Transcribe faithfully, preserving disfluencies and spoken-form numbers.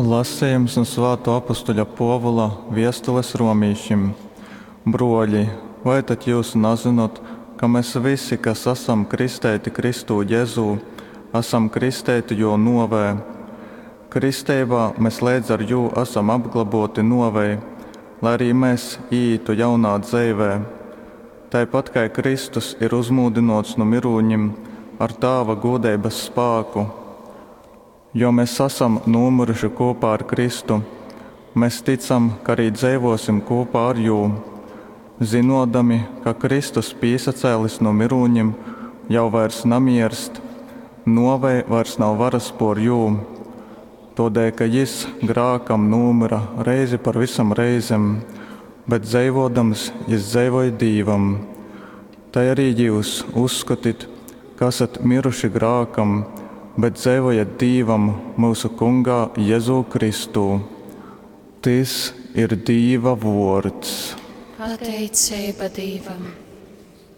Lasejums nu svātuo apustuļa Puovula viestules romīšim. Bruoļi, vai tad jyus nazynot, ka mes vysi, kas asam kristeiti Kristū Jezū, asam kristeiti Jō nōvē? Kristeibā mes leidz ar Jū asam apglobōti nōvei, lai arī mes īītu jaunā dzeivē, tai pat kai Kristus ir uzmūdynōts nu myrūņim ar Tāva gūdeibas spāku. Jo mes asam nūmyruši kūpā ar Kristu, mes tycam, ka arī dzeivōsim kūpā ar Jū. Zynōdami, ka Kristus pīsacēlis nu myrūņim jau vairs namierst, nōvei vairs nav varas pōr Jū. Tōdēļ ka Jys grākam nūmyra reizi par vysom reizem, bet dzeivōdams Jys dzeivoj Dīvam. Tai arī jyus uzskotit, ka asat myruši grākam, bet dzeivojat Dīvam myusu Kungā Jezū Kristū. Tys ir Dīva vōrds. Pateiceiba Dīvam.